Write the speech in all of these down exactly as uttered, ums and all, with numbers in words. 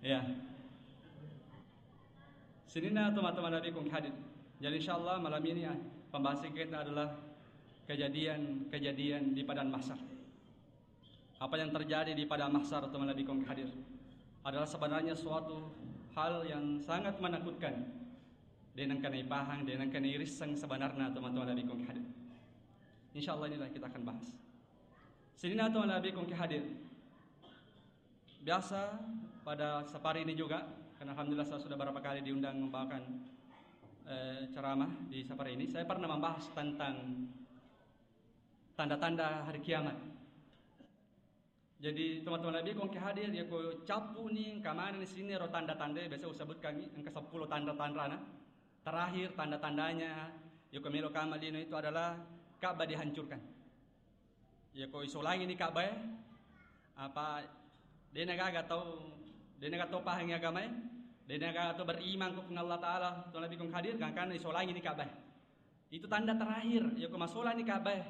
Ya. Sininna teman-teman Nabi kong hadir. Jadi insyaallah malam ini, ah, pembahasan kita adalah kejadian-kejadian di padang mahsyar. Apa yang terjadi di padang mahsyar, teman Nabi kong hadir, adalah sebenarnya suatu hal yang sangat menakutkan. Denang kenai pahang, denang kenai risseng sebenarnya, teman-teman Nabi kong hadir. Insyaallah inilah kita akan bahas. Sininna teman Nabi kong hadir. Biasa pada safari ini juga, karena alhamdulillah saya sudah beberapa kali diundang membawakan, eh, ceramah di safari ini. Saya pernah membahas tentang tanda-tanda hari kiamat. Jadi teman-teman Nabi kong hadir, ya ko cappu ni, engka maneng ni sininna ro tanda-tanda biasa usebutkan ni, engka seppulo tanda-tandana. Terakhir tanda-tandanya, ya ko melo kama lino itu adalah Ka'bah dihancurkan. Ya ko isolangi ni Ka'bah, apa, dena gaga tau, dena gaga tau pahangi agamae, dena gaga tau beriman ko Puang Allah Ta'ala, to Nabi kong hadir, gangkanna isolangi ni Ka'bah. Itu tanda terakhir, ya ko masola ni Ka'bah,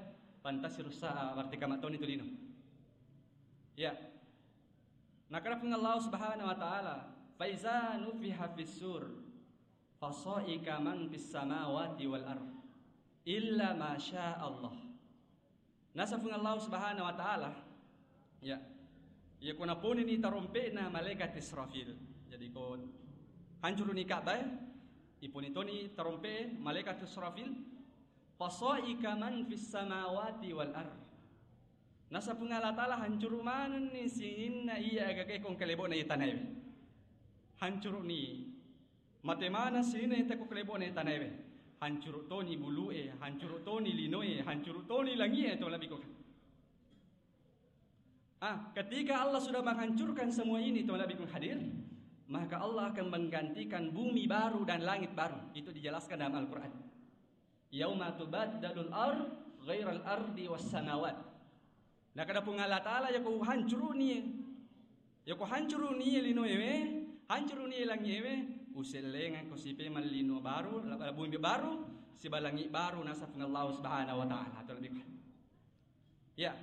pantas rusa, berarti kama toni tu lino. Ya. Nakada Puang Allah Subhanahu wa Ta'ala, "Faiza nufiha fis sur, fasaika man fis samawati wal ard, illa ma sya Allah." Nasa Puang Allah Subhanahu wa Ta'ala, ya, ya ko naponini tarompe'na malaikat Israfil. Jadi ko hancuruni Ka'bah, iponi toni tarompe'e malaikat Israfil, fasaika man fis samawati wal ard. Nasa Puang Allah Ta'ala hancuru manenni sininna iya agagae kong kalebona iya tanaewe. Hancuruni. Mate maneng sininna ita ko kalebona tanaewe. Hancuru toni bulue, hancuru toni linoe, hancuru toni langie, to Nabi kong. Ah, ketika Allah sudah menghancurkan semua ini, to Nabi kong hadir, maka Allah akan menggantikan bumi baru dan langit baru. Itu dijelaskan dalam Al-Quran. "Yauma tubaddalul ard ghairal ardi was samawat." Nakada Puang Allah Ta'ala, ya ko hancuruni, ya ko hancuruni linoewe, hancuruni langiewe, usellengeng ko sipe mallino baru, la-, bumi baru, sibalangi baru, nasa Puang Allah Subhanahu wa Ta'ala. Atau lebih, ya.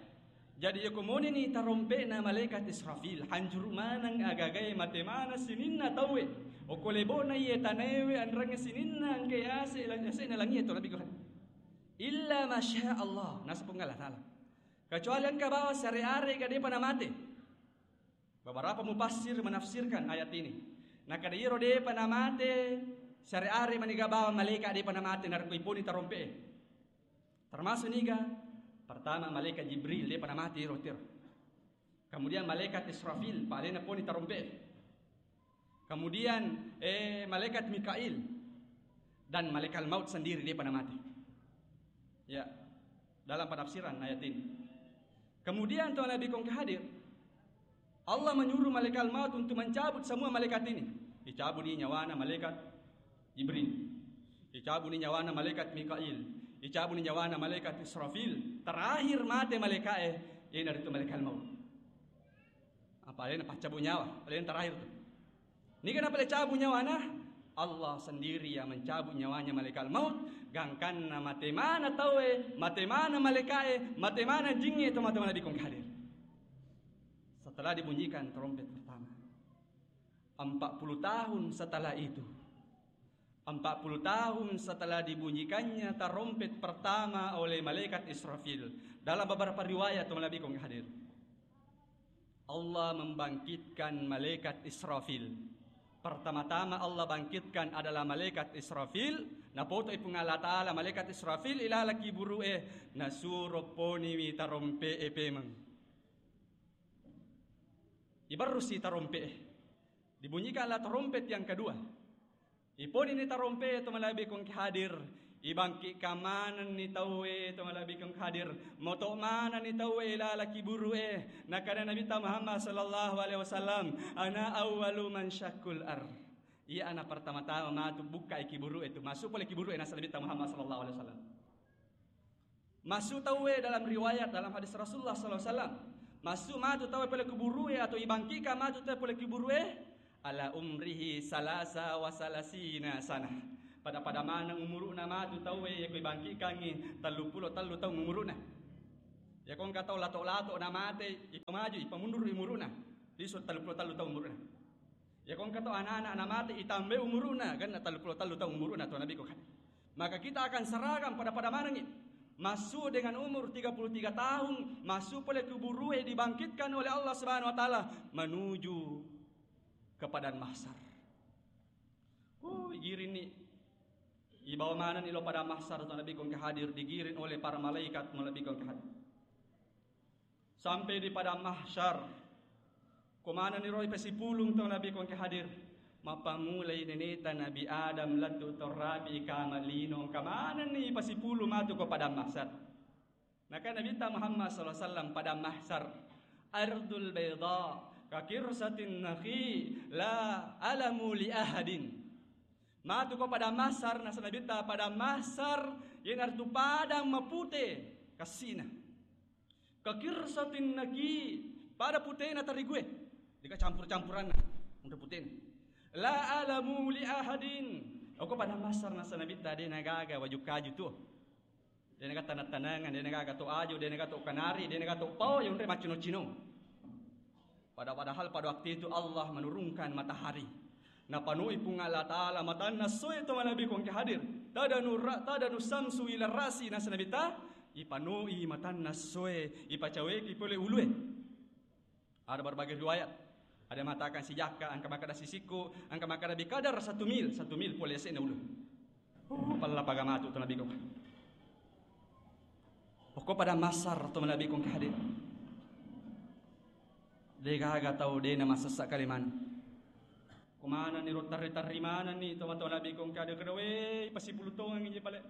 Jadi ya ko monini tarompe'na malaikat Israfil, hancuru maneng agagae, mate maneng sininna tauwe. Oko lebona iye tanaewe, anrangnge sininna engke ase, lang-, ase'na langie, to Nabi kong. Illa masya Allah, nasa Puang Allah Ta'ala. Kecuali engka bawang siare-are ga depa namate. Beberapa mufassir menafsirkan ayat ini. Nakada iyaro depa namate siare-are mani ga bawang malaika depa namate narekko iponi tarompe'e. Termasuk niga? Pertama malaikat Jibril depa namate iro tiro. Kemudian malaikat Israfil, pa alena poni tarompe'e. Kemudian, eh, malaikat Mikail dan malaikat maut sendiri depa namate. Ya, dalam penafsiran ayat ini. Kemudian to Nabi kong hadir, Allah menyuruh malaikat maut untuk mencabut semua malaikat ini. Dicabut ni nyawana malaikat Jibril. Dicabut ni nyawana malaikat Mikail. Dicabut ni nyawana malaikat Israfil. Terakhir mate malaikae, iyanaritu malaikat maut. Apa alena paccabu nyawa, alena terakhir tu. Niga napale cabu nyawana? Allah sendiri yang mencabut nyawanya malaikat maut. Gangkanna mate mana tauwe, mate mana malaikae, mate mana jingnge, teman-teman Nabi kong hadir. Setelah dibunyikan trompet pertama, empat puluh tahun setelah itu, empat puluh tahun setelah dibunyikannya tarompet pertama oleh malaikat Israfil, dalam beberapa riwayat, teman Nabi kong hadir, Allah membangkitkan malaikat Israfil. Pertama-tama Allah bangkitkan adalah malaikat Israfil. Napoto ipung Allah Ta'ala malaikat Israfil ilala kiburu'e, nasuro poniwi tarompe'e pemeng. Ibarrusi tarompe'e. Dibunyikanlah tarompet yang kedua. Iponini tarompe'e, to malebbi kongki hadir. Ibangkitkan manenni tauwe, to malebbi kongki hadir. Moto manenni tauwe ilala kiburu'e. Nakana Nabitta Muhammad sallallahu alaihi wasallam, "Ana awwalu man syaqqal ard." Iya ana pertama-tama matu bukkai kiburu'e tu. Masuk pole kiburu'e, nasaba Nabitta Muhammad sallallahu alaihi wasallam. Masuk tauwe dalam riwayat, dalam hadis Rasulullah sallallahu alaihi wasallam. Masuk matu tauwe pole kuburu'e atau ibangkitkan matu tauwe pole kuburu'e ala umrihi salasa wa salasina sanah. Pada-pada maneng umuru'na matu tauwe, yako ibangkitkangngi telluppulo tellu taung umuru'na. Yako engka tau lato-lato namate, ipamaju, ipamundur umuru'na. Lisu telluppulo tellu taung umuru'na. Iya ko engka to anak-anak namate, itambai umuru'na, genna tellu pulo tellu taung umuru'na to Nabi ko kan. Maka kita akan seragam pada-pada manengngi. Masuk dengan umur tiga puluh tiga tahun, masuk pole kuburue, dibangkitkan oleh Allah Subhanahu wa Ta'ala menuju ke padang mahsyar. Oh, igiring ni. Ibawa maneng ni lao padang mahsyar to Nabi ko engka hadir, digiring oleh para malaikat to Nabi ko engka hadir. Sampai di padang mahsyar, ko maneng ni ro ipasipulung to Nabi ko engka hadir. Mappamulai neneta Nabi Adam lettu to rapi kama lino, engka maneng ni ipasipulung matu ko padang mahsyar. Naka Nabitta Muhammad sallallahu alaihi wasallam, padang mahsyar, ardul baydha, ka qirsatin naqi, la alamu li ahadin. Matu ko padang mahsyar, nasa Nabitta, padang mahsyar, iyanaritu padang mapute kassina. Ka qirsatin naqi, pada putena tarigue. Deka campur-campuranna, unre putena. La alamu li ahadin. Oko padang mahsyar, nasa Nabitta, de nagaga waju kaju tu. De naga taneng-tanengan, de naga to aju, de naga to kanari, de naga to pao, yonre maccino-cino. Pada-, padahal pada waktu itu Allah menurunkan matahari. Napanui Puang Allah Ta'ala matanna soe to manabi ko engka hadir. Tadanu ra-, tadanu samsu ila rasi, nasa Nabitta, ipanui matanna soe, ipacaweki pole ulue. Ada berbagai riwayat. Ada mengatakan sijakka, engka makkeda sisikku, engka makkeda bikadar satu mil, satu mil pole yase'na ulue. Oh, pella paga matu to Nabi ko. Pokok pada mahsyar to Nabi ko engka hadir. De gaga tau de na masessa kaliman. Ko maneng ni ro tarri-tarri maneng ni to matu Nabi ko engka hadir, kedawe pasipulu tongengngi je pale.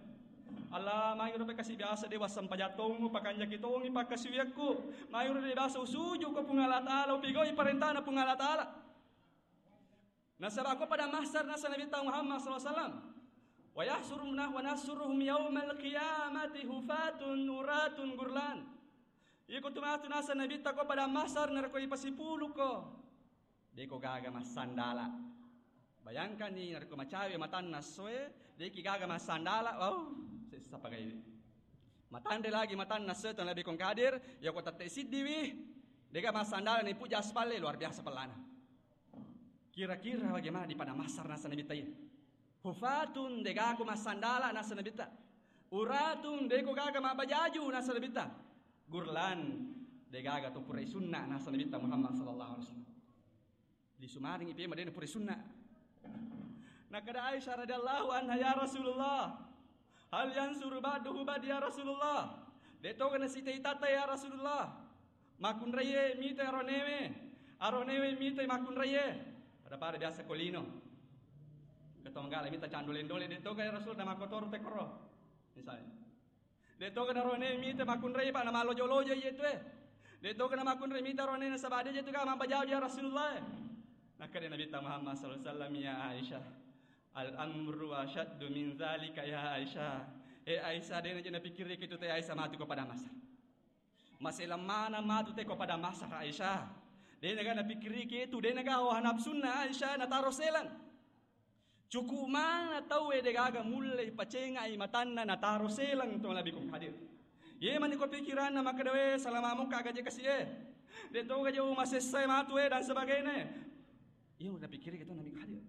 Allah, magi ro kasi biasa de wassempajang tongu, pakanjaki tongi pakkasiwiakku. Magi ro de biasa usuju ko Puang Allah Ta'ala, upigau parentana Puang Allah Ta'ala. Nasaba ko pada mahsyar, nasa Nabitta Muhammad sallallahu alaihi wasallam, "Wa yahsyuruna wa nahsyuruhum yaumal qiyamati hufatun uratun gurlan." Iko tu matu, nasa Nabitta, ko pada mahsyar narekko ipasipulu ko, de ko gaga massandala. Bayangkan ni, narekko macawe matanna soe, de ki gaga massandala, wow, sessa pagai. Matanre lagi matanna soe to Nabi ko engka hadir, ya ko tette siddiwi, de ga massandala ni puja aspalle, luar biasa pellana. Kira-kira bagaimana di pada mahsyar, nasa Nabitta iya? Hufatun, de gaga massandala, nasa Nabitta. Uratun, de ko gaga mabbajaju, nasa Nabitta. Gurlan, de gaga to purai sunna, nasa Nabitta Muhammad sallallahu alaihi wasallam. Lisumaring ipe madena purai sunna. Nakada Aisyah radhiyallahu anha, "Ya Rasulullah, hal yansuru ba'duhu ba'di ya Rasulullah?" De toga nasita-itata ya Rasulullah. Makkunraie mita aronewe, aronewe mita makkunraie. Pada-pada biasa ko lino. Ketonggala mita candole-ndole, de toga ya Rasul, na makkotoro te koro. Misalnya. De toga na aronewe mita makkunraie, pa na malojo-lojo iye tue. De toga na makkunraie mita aronewe nasaba de je tu ga mabbajau ya Rasulullah. Nakkeda Nabitta Muhammad sallallahu alaihi wasallam, "Ya Aisyah, al amru asyaddu min zalika ya Aisyah." Eh Aisyah, de na je napikkiriki tu te Aisyah, matu ko pada mahsyar. Maselang maneng matu te ko pada mahsyar, Aisyah. De naga napikkiriki tu, de naga hawa nafsunna Aisyah nataro selang. Cukup maneng tauwe de gaga mulle pacengai matanna nataro selang to Nabi ko hadir. Ye mani ko pikiranna makkeda, "We, salama mokka gaje kasi e. De toga je masessae matu e dan sebagainya." Iya napikkiriki to Nabi ko hadir.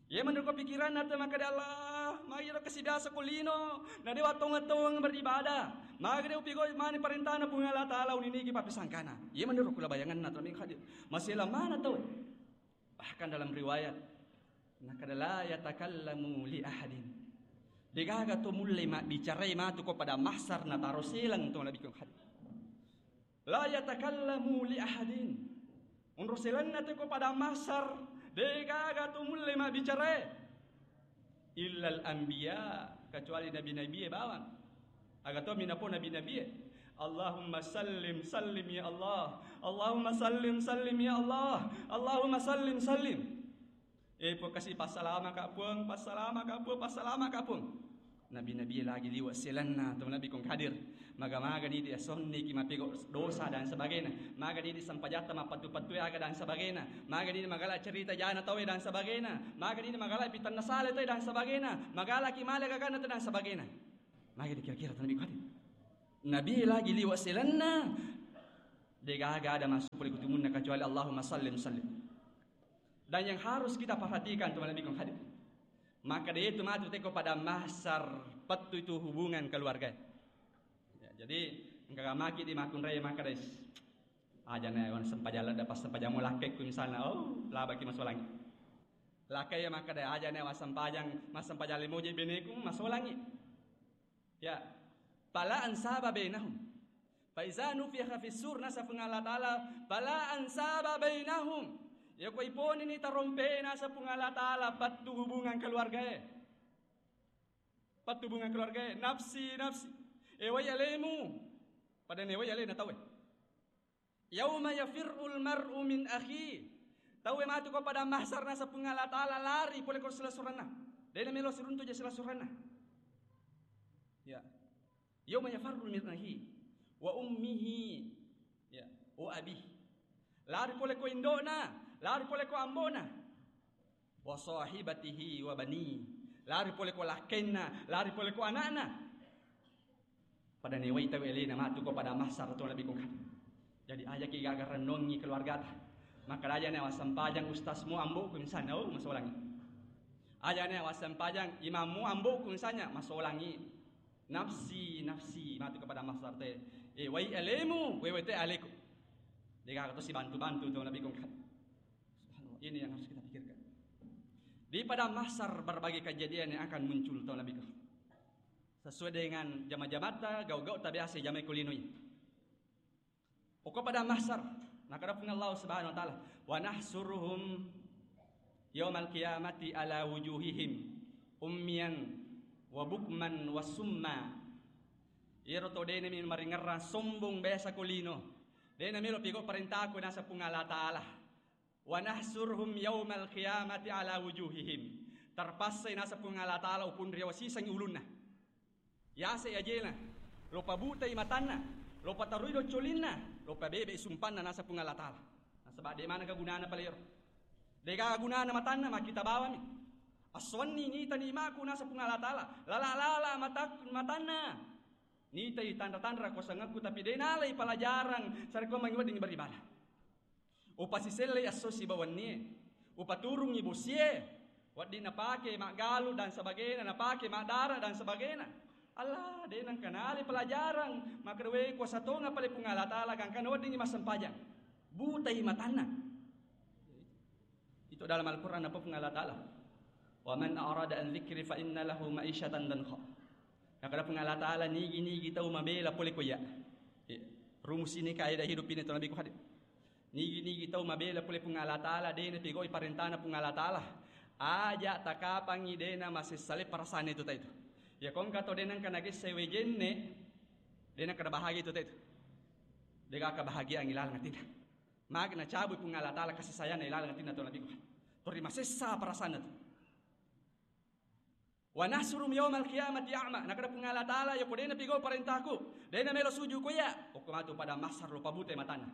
Ye menurut ko pikiranna te makkeda, "Allah, magi ro kasi biasa ko lino, na dewa tongeng-tongeng beribadah. Magi de upigau mani parentana Puang Allah Ta'ala, uniniki pappisangkana." Ye menurut kula bayanganna to Nabi ko hadir. Maselang maneng tauwe. Bahkan dalam riwayat, nakkeda, "La yatakallamu li ahadin." De gaga to mulle mabbicarai matu ko pada mahsyar nataro selang to Nabi ko hadir. "La yatakallamu li ahadin." Onro selanna te ko pada mahsyar, de gaga to mulle mabbicarai. Illal anbiya, kecuali nabi-nabi e bawang. Aga to minapo nabi-nabi e. "Allahumma sallim, sallim ya Allah. Allahumma sallim, sallim ya Allah. Allahumma sallim, sallim." Eh, Puang, kasi passalamaka, Puang, passalamaka, Puang, passalamaka, Puang. Nabi-nabi lagi liwa selanna to Nabi ko hadir. Maga-maga ni dia sonni ki mapego dosa dan sebagainya. Maga ni di sampajatta mappatu-patue aga dan sebagainya. Maga ni magala cerita jana tawe dan sebagainya. Maga ni magala pitanna sale tawe dan sebagainya. Magala ki male gagana tawe dan sebagainya. Maga ni kira-kira to Nabi ko hadir. Nabi lagi liwa selanna. De gaga ada masuk pole kutumunna kecuali Allahumma sallim sallim. Dan yang harus kita perhatikan, teman nabiku hadir. Maka dia itu matu teko pada mahsar, pettu itu hubungan keluarga. Ya, jadi engka maki di makunrai maka dais. Aja ne wan sempajang ladda pas sempajang mo lakkekku misalna, oh, labaki masolangi. Lakkai ya maka dai aja ne wassempajang, massempajang limoje beneku masolangi. Ya. Fala ansaba bainahum. Fa iza nufikha fis sur, nasa Puang Allah Ta'ala, fala ansaba bainahum. Ya ko iponini tarompe nasa Puang Allah Ta'ala, pattu hubungan keluargae. Pattu hubungan keluargae, nafsi, nafsi. E wai alemu. Pada ne wai alena tauwe. Yauma yafirrul mar'u min akhi. Tauwe matu ko pada mahsar nasa Puang Allah Ta'ala lari pole ko silessurenna. Dena melo siruntu je silessurenna. Ya. Yauma yafirru min akhi wa ummihi. Ya, wa abi. Lari pole ko indokna, lari pole ko ambona. Wa sahibatihi wa bani. Lari pole ko lakkenna, lari pole ko anakna. Pada newai tau elena matu ko pada mahsar to nabi ko kan. Jadi aja ki gaga renungi keluargata. Maka aja ne wassempajang ustazmu amboku misalnya, oh, masolangi. Aja ne wassempajang imammu amboku misalnya, masolangi. Nafsi, nafsi, matu kepada mahsar te. Eh, wai alemu, wewe te aleku. Dega to si bantu-bantu to nabi ko kan. Subhanallah. Ini yang harus kita pikirkan. Di pada mahsar berbagai kejadian yang akan muncul to nabi ko. Sesuai dengan jama-jamata, gau-gau tabiasa jamai kulinoi. Pokok pada mahsar, nakada Puang Allah Subhanahu wa Ta'ala, "Wa nahsuruhum yaumal qiyamati ala wujuhihim ummiyan wa bukman wa summa." Iyaro to dena mi maringerrang sombong biasa ko lino. Dena melo pigo parentaku nasa Puang Allah Ta'ala. "Wa nahsuruhum yaumal qiyamati ala wujuhihim." Terpaksa nasa Puang Allah Ta'ala upun riawa sisangi ulunna. Yase ajena, lo pabutai matanna, lo patarui doccolinna, lo pabebe sumpanna nasa Puang Allah Ta'ala. Nasaba de mana kegunana palero. Dega gunana matanna makkita bawami. Aswanni nita nimaku nasa Puang Allah Ta'ala. Lala-lala matak-, matanna. Nitai tanra-tanra kosangakku tapi de nalai pelajaran sarekko mangi wedding beribadah. Upasisellei esso sibawa wennie, upaturungngi bosie, wedding napake maggalu dan sebagainya, napake maddara dan sebagainya. Allah, de nengka nalai pelajaran, maka dewe kuasa tonga pale Puang Allah Ta'ala gangkana weddingngi massempajang. Butai matanna. Itu dalam Al-Quran apa Puang Allah Ta'ala? "Wa man a'rada an dzikri fa inna lahu ma'isyatan dhanka." Nakada Puang Allah Ta'ala, nigi-nigi tau mabela pole ko iya. Eh, rumus ini kaidah hidup ini to nabi ko hadir. Nigi-nigi tau mabela pole Puang Allah Ta'ala, dena pigoi parentana Puang Allah Ta'ala. Aja takapangi dena masessale perasaan itu taitu. Ya kongka to dena engka nagesse wejenne, dena kada bahagia itu taitu. Dega kebahagiaan ilaleng atinna. Magi nacabui Puang Allah Ta'ala kasih sayangna ilaleng atinna to nabi ko. Tori masessa perasaan itu. "Wa nahsurum yaumal qiyamati a'ma." Nakada Puang Allah Ta'ala, "Yako dena pigau parentaku, dena melo suju ko iya, okko matu pada mahsar lo pabute matanna."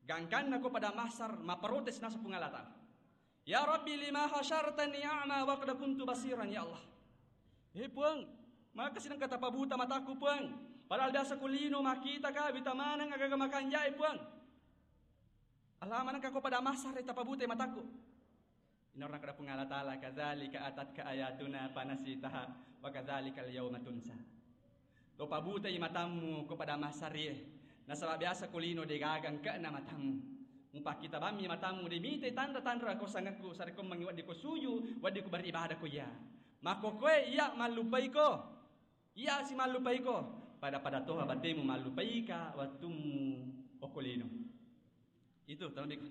Gangkanna ko pada mahsar, maprotes nasa Puang Allah Ta'ala. "Ya Rabbi, lima hasyartani a'ma wa qad kuntu basiran, ya Allah." Eh Puang, maka sidang kata pabuta mataku Puang. Padahal biasa ko lino makita ka, wita maneng agaga makanjai Puang. Allah maneng ka ko pada mahsar tapabute mataku. Inarna kada Puang Allah Ta'ala, "Kadzalika atatka ayatuna fanasitaha wa kadzalikal yauma tunsa." To pabutai matammu ko pada mahsarie, nasaba biasa ko lino de gaga engkana matammu. Mupakkita bammi matammu de mitai tanra-tanra ko sangakku sarekko mangi wedding ko suju, wedding ko beribadah ko iya. Makkokoe iya mallupaiko. Iya si mallupaiko. Pada-pada toha batemu mallupaika wettummu okko lino. Itu, tolong biko.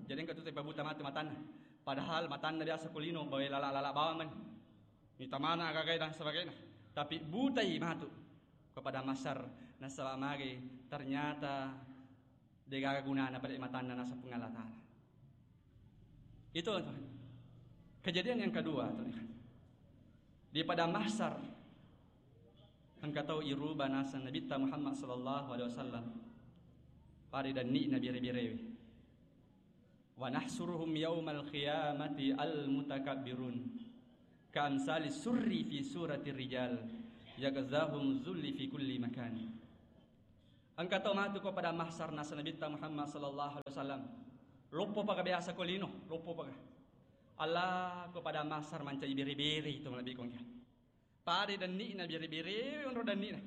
Jadi engka tu teppa buta matu matanna. Padahal matanna biasa kulino, bawa lala-lala bawang man. Mita mana agagai dan sebagainya. Tapi butai matu kepada mahsar, nasaba magi ternyata degaga gunana pada matanna nasa Puang Allah Ta'ala. Itu kejadian yang kedua, teman-teman. Di pada mahsar, engka tau iruba naseng Nabitta Muhammad sallallahu alaihi wasallam. Pada danni Nabi bere-berewe. "Wa nahsuruhum yaumal qiyamati al-mutakabbirun, ka amsali surri fi surati rijal, yaghzahum zulli fi kulli makan." Engka tau matu ko pada mahsar naseng Nabitta Muhammad sallallahu alaihi wasallam. Loppo paga biasa ko lino, loppo paga. Allah, ko pada mahsar mancaji bere-bere itu malebbi kongka. Pada denni'na bere-bere, onro denni'na.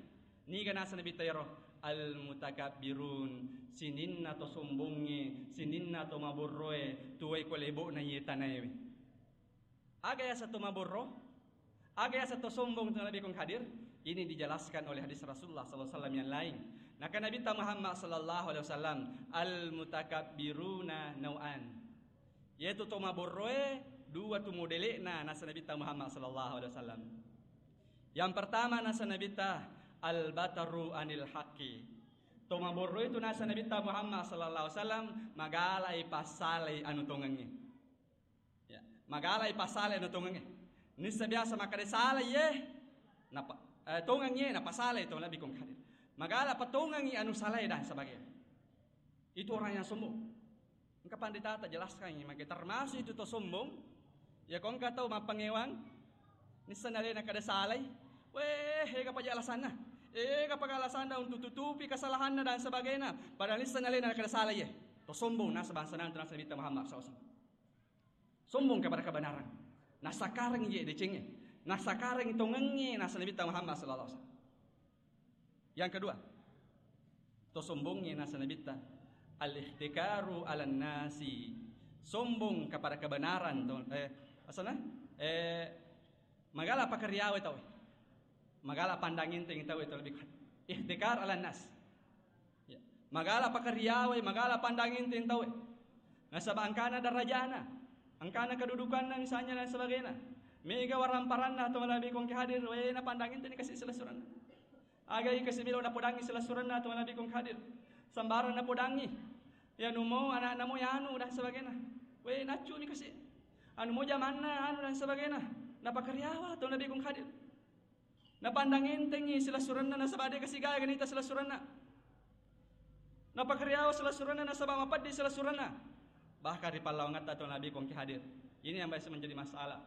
Niga nasa Nabitta ero? Al-mutakabbirun, sininna to sombongnge, sininna to maborroe, tuwai ko lebo'na iye tanaewe. Aga yaseng to maborro? Aga yaseng to sombong to malebbi kong hadir? Ini dijelaskan oleh hadis Rasulullah sallallahu alaihi wasallam yang lain. Naka Nabitta Muhammad sallallahu alaihi wasallam, al-mutakabbiruna nau'an. Yaitu to maborroe dua tu modele'na nasa Nabitta Muhammad sallallahu alaihi wasallam. Yang pertama nasa Nabitta al-bataru anil haqqi. To maborroe tu nasa Nabitta Muhammad sallallahu alaihi wasallam magalai passalai anu tongengnge. Ya, magalai passalai anu tongengnge. Nissa biasa makkeda salai ye, napa, eh, tongengnge, napasalai to malebbi kong hadir. Magala patongengngi anu salai dan sebagainya. Itu orang yang sombong. Engka pandita ta jelaskan ini, maka termasuk itu to sombong. Ya, ko engka tau mappangewang, nissa nalena kada salai. Weh, ega paja alasanna. Ega paja alasanna untuk tutupi kesalahanna dan sebagainya. Padahal nissa nalena kada salai ye. To sombong nasa bangsa nang nasa Nabitta Muhammad sallallahu alaihi wasallam. Sombong kepada kebenaran. Nasakareng ye decengnge. Nasakareng tongengnge nasa Nabitta Muhammad sallallahu alaihi wasallam. Yang kedua, to sombongnge nasa Nabitta, al-ihtikaru alan nasi. Sombong kepada kebenaran to, eh, asana? Eh, magala pakariawe tau. Magala pandang enteng tau itu lebih ihtikar alan nas. Ya. Magala pakariawe, magala pandang enteng tau. Nasaba engkana darajana, engkana kedudukanna misalnya dan sebagainya. Mega waramparanna to malebbi kongki hadir, we na pandang enteng ni kasi silessurenna. Agai kasi melo napodangi silessurenna to malebbi kongki hadir. Sembarang napodangi. Ya numo anakna mo yanu dan sebagainya. We naccu ni kasi. Anu mo jamanna anu dan sebagainya. Napakariawa to malebbi kongki hadir. Napandang entengngi silessurenna nasaba de kasi gaga nita silessurenna. Napakariawa silessurenna nasaba mapeddi silessurenna. Bahkan ri pallawangetta to malebbi kongki hadir. Ini yang biasa menjadi masalah.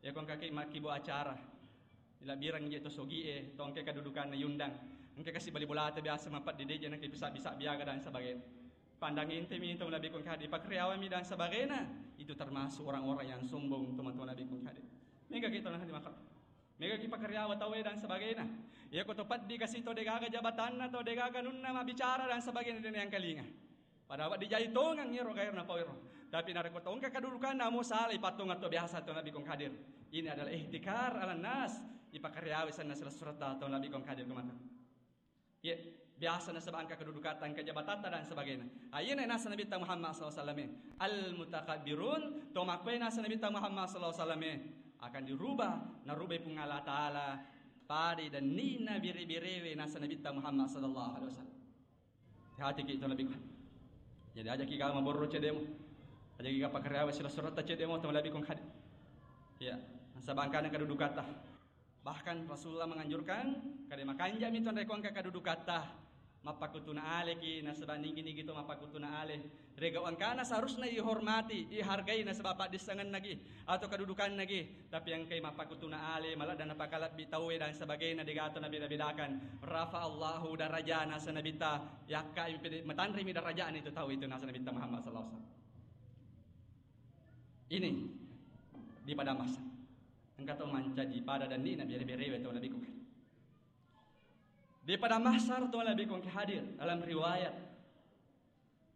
Ya kongka ki makkibo acara. Ilabbireng je to sogie, to engka kedudukanna yundang. Engka kasi bali bolata biasa mapeddi de je naki bisa-bisa biaga dan sebagainya. Pandang entemi to malebbi kongki hadir, pakariawami dan sebagainya. Itu termasuk orang-orang yang sombong to malebbi kongki hadir. Mega kita nanti makan. Mega ki pakariawa tauwe dan sebagainya. Iya ko to peddi kasi to degaga jabatanna to degaga nunna mabbicara dan sebagainya de nengkalinga. Padahal dijai tongeng iro gairna pau iro. Tapi narekko to engka kedudukanna mo salai pattongeng to biasa to malebbi kongki hadir. Ini adalah ihtikar alan nas. Ipakariawa senna silessuretta to malebbi kongki hadir kemana. Ye, biasa nasaba engka kedudukatta, engka jabatatta dan sebagainya. Ah, iyana nasa Nabitta Muhammad sallallahu alaihi wasallam. Al-mutakabbirun, to makkue nasa Nabitta Muhammad sallallahu alaihi wasallam akan dirubah, narubai Puang Allah Taala pada denni'na bere-berewe nasa Nabitta Muhammad sallallahu alaihi wasallam. Hati-hati ki to malebbi kongki. Jadi aja ki ga maborro cedemu. Aja ki ga pakariawa silessuretta cedemu to malebbi kongki hadir. Ya, nasaba engkana kedudukatta. Bahkan Rasulullah menganjurkan, kada makanjami to narekko engka kedudukatta, mappakutuna aleki, nasaba nigi-nigi to mappakutuna ale. Rega engkana seharusna ihormati, ihargai nasaba paddissengennagi atau kedudukannagi. Tapi engkai mappakutuna ale, maladda napakalebbi tauwe dan sebagainya, degato nabeda-bedakan. Rafa Allahu darajana sanabita, yakka matanrimi darajana itu tau itu nasa Nabitta Muhammad sallallahu alaihi wasallam. Ini di pada masa. Engka tau mancaji pada denni'na bere-berewe tau Nabiku. Di pada mahsyar tau Nabiku engka hadir dalam riwayat.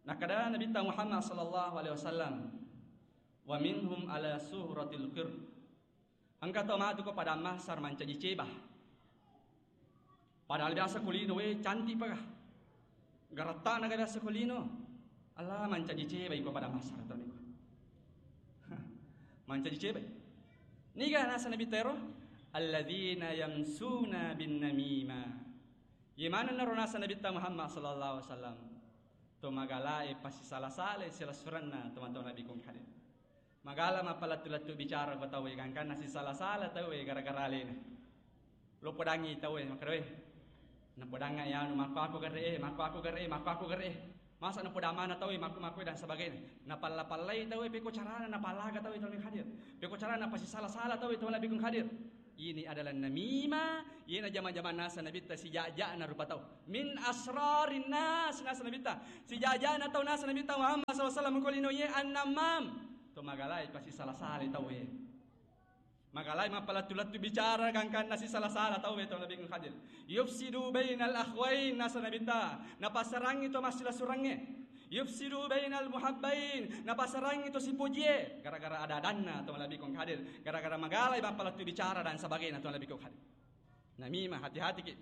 Nakkeda Nabitta Muhammad sallallahu alaihi wasallam, "Wa minhum ala suratil qir." Engka tau matu ko pada mahsyar mancaji ceba. Padahal biasa ko lino, we, cantik paga. Garatta'na ga biasa ko lino. Allah mancaji cebai ko pada mahsyar to niko. Mancaji cebai. Niga nasa Nabitta ero? Alladzina yamsuna bin namima. Ye manenna ro nasa Nabitta Muhammad sallallahu alaihi wasallam. To magalae pasisala-sala silessurenna teman-teman Nabi kong hadir. Magala mappalettu-lettu bicara ko tauwe, gangkanna sisala-sala tauwe gara-gara alena. Lo podangi tauwe, makkeda, "We, napodangnga iyanu, makko aku gere e, makko aku gere e, makko aku gere e." Masa napodamana tauwe, makko-makko dan sebagainya. Napalla-pallai tauwe, peko carana napallaga tauwe tauwe hadir. Peko carana napasisala-sala tauwe tauwe Nabi kong hadir. Ini adalah namimah, iyena jama-jama nasa Nabitta sijaja-jana rupa tau. Min asrarin nas nasa Nabitta. Sijaja-jana tau nasa Nabitta Muhammad sallallahu alaihi wasallam ko lino ye an-namam. To magalai pasisala-sala tauwe. Magalai mappalettu-lettu bicara gangkanna sisala-sala tauwe to Nabi Khadir. Yufsidu bainal akhwain nasa Nabitta. Napasarangi to massila-surangnge. Yufsidu bainal muhabbain, napasarangi to sipojie. Gara-gara ada-adanna to Nabi Khadir. Gara-gara magalai mappalettu bicara dan sebagainya to Nabi Khadir. Namimah, hati-hati ki.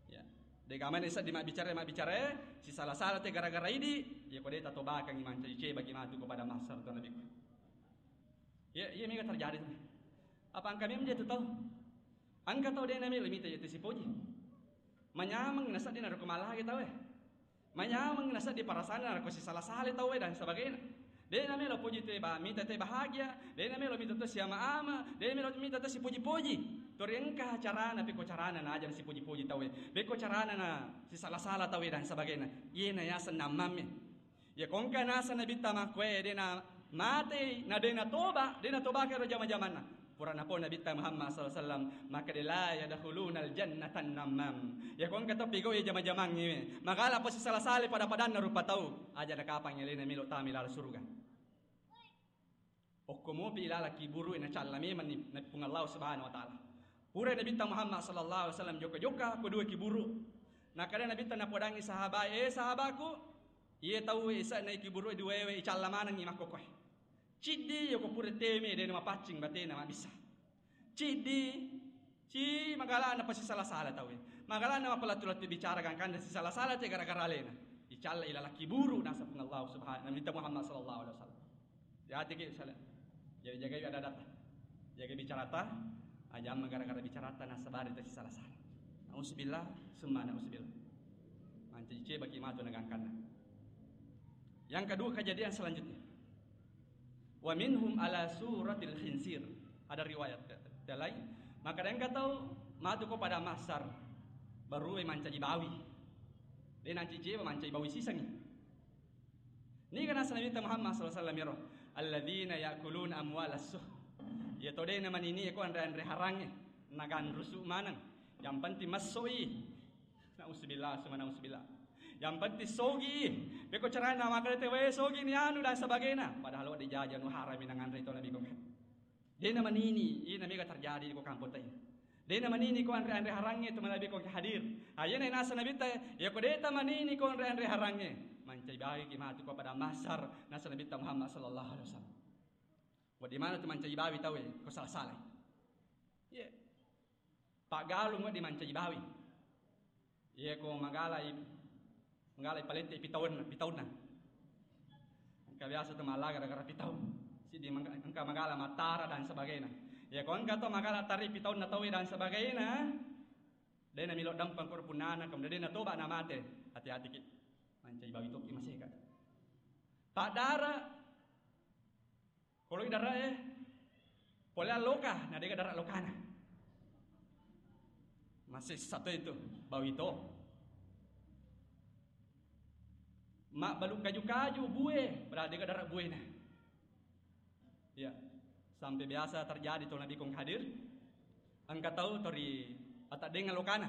Ya. De' gaga mani seddi mabbicara, mabbicara, sisala-sala te gara-gara idi, ya ko de' tatobakangi mancaji cebaki matu ko pada mahsyar to Nabi. Ya, iya mega terjadi tu. Apa engka memang je tu tau? Engka tau de' namelo mita ya tu sipoji. Manyameng na seddi narekko malagi tau e. Manyameng na seddi perasaanna narekko sisala-sala tauwe dan sebagainya. De' namelo poji te ba-, mita te bahagia, de' namelo mita te siama-ama, de' namelo mita te sipoji-poji. Tori engka carana, pekko carana na aja sipoji-poji tauwe. Pekko carana na sisala-sala tauwe dan sebagainya. Iye na yaseng nammamme. Ya ko engka nasa Nabitta makkoe de' na matei, na de' na toba, de' na toba kero jama-jamanna. Purana pau Nabitta Muhammad sallallahu alaihi wasallam, maka de la yadkhulunal jannatan namam. Ya ko engka to pigau ya jama-jamangnge, magala pasisala-sala pada-padanna rupa tau, aja na kapang alena melo tama laleng suruga. Okko mopi ilala kiburu na calla memang ni, na Puang Allah Subhanahu wa Ta'ala. Pura Nabitta Muhammad sallallahu alaihi wasallam jokka-jokka ko dua kiburu. Nakada Nabitta napodangi sahabat, "Eh sahabatku, iye tau isa na kiburu dua we icalla manengi makkokoe." Ciddi yoko pura teme de' na mapaccing batena mabissa. Ciddi, ci magalana pasisala-sala tauwe. Magalana mappalettu-lettu bicara gangkanna sisala-sala te gara-gara alena. Icalla ilala kiburu nasa Puang Allah Subhanahu, Nabitta Muhammad sallallahu alaihi wasallam. Hati-hati ki sala. Jadi jagai ada-adata. Jagai bicarata, aja gara-gara bicarata nasabari te sisala-sala. Nauzubillah, summa nauzubillah. Mancaji cebaki matu na gangkanna. Yang kedua kejadian selanjutnya. Wa minhum ala suratil khinsir. Ada riwayat te-, te lain. Maka engka tau matu ko pada mahsyar, baru mancaji bawi. De' nancici mancaji bawi sisengi. Niga nasa Nabitta Muhammad sallallahu alaihi wasallam yaro, "Alladzina ya'kuluna amwalas suh." Ya to de' na manini ko anre-anre harangnge, naganrusu maneng. Yang penting massoi. Nauzubillah, summa nauzubillah. Yang penting sogi. Peko carana makale te wae sogi ni anu dan sebagainya. Padahal wadi jaja nu harami nanganre to Nabi kong. De' na manini, ina mega terjadi ko kampong tai. De' na manini ko anre-anre harangnge to manabi ko hadir. Ayena nasa Nabitta, ya ko de' ta manini ko anre-anre harangnge, mancai bawi ki matu ko pada mahsyar nasa Nabitta Muhammad sallallahu alaihi wasallam. Wadi mana tu mancai bawi tauwe ko sala-sala. Iya. Paggalung wedding mancaji bawi. Iya ko magalai, magalai palette pitaunna, pitaunna. Engka biasa tu mala gara-gara pitau. Siddi mangka-, engka magala mattara dan sebagainya. Iya ko engka to magala tari pitaunna tauwe dan sebagainya. De' na milo dampeng ko punnana, kemudian de' na toba na mate. Hati-hati ki. Mancaji bawi tokki maseka. Paddara Poloi dara e, pole alloka, na dega dara lokana. Masessa to itu, bawi to. Mabbalu kaju-kaju bue, padahal dega dara buena. Ya, sampai biasa terjadi to nabi kong hadir. Engka tau tori ataddenga lokana.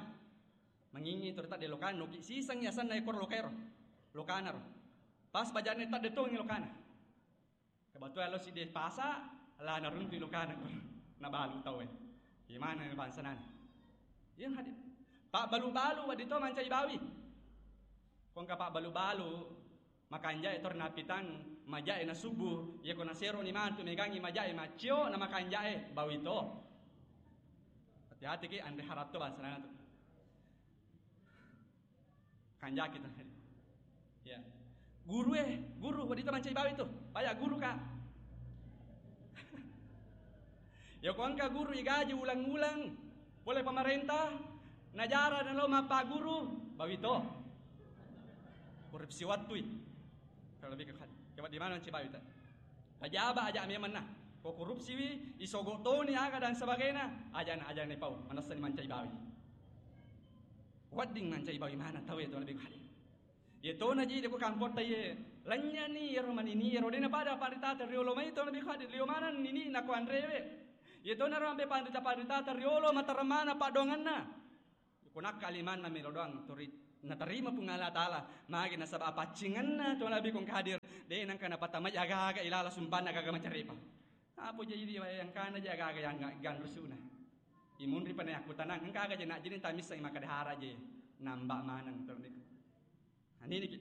Mangingi tori tadde lokana, noki siseng yasanna ekor lokaero. Lokana ro. Pas bajane tadde tongi lokana. Kebetulan lo sidde pasa, la naruntu lokana ko. Nabalu tau e. Gimana bangsa nana? Yang hadir. Pak balu-balu wadi to mancai bawi. Kongka pak balu-balu, makanja e tor napitang, maja e na subuh, iya ko nasero ni mantu megangi maja e macio na makanja e bawi to. Hati-hati ki anre haratto bangsa nana tu. Kanjaki tu. Ya. Guru e, guru, wadita mancai bawi tu. Paya guru ka. Ya ko engka guru igaji ulang-ulang, pole pemerintah, najara nalo mappaguru, bawi to. Korupsi wattui. Kalau lebih ke, ke di mana mancai bawi ta? Pajaba aja memenna. Ko korupsiwi, isogo toni aga dan sebagainya, aja na, aja na pau, manessa ni mancai bawi. Wedding mancai bawi maneng tau e to lebih kali. Ye to na ji de ko kampotta ye, lanyani yero manini yero de na pada paritata riolo mai to lebih kali, lio maneng nini na ko anrewe. Ye to na ro ampe panrita-paritata riolo mataremana padonganna. Ko nakka limanna melo doang turi Natarima Puang Allah Ta'ala, magi nasaba apaccingenna to Nabi kong hadir, de nangka napatamai aga-aga ilala sumbanna aga-aga macarepa. Apa jadi dia yang kana je aga-aga yang ga-, ganrusuna. Imunri pane aku tanang, engka aga je nak jadi tamissa maka dahara je, nambah maneng to niku. Nah, ini ki.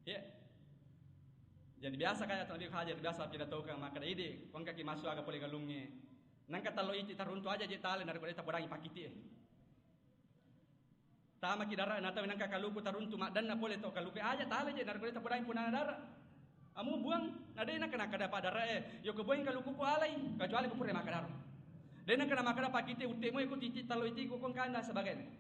Ya. Jadi biasa kaya to niku hadir, biasa pidatokang maka ide, kongka ki masuk aga pole galungnge. Nangka talo iti taruntu aja je tale, narekko de tapodangi pakiti e. Tamaki dara, natawi nangka kaluku taruntu maddanna pole to kaluku aja tale je, narekko de tapodangi punana dara. Amu buang, na de nangka nangka dapat dara e, yo ko buang kaluku ku alai, kecuali ku pura maka dara. De nangka namaka dara pakiti utte mo iku titi talo iti ku kongkanda sebagainya.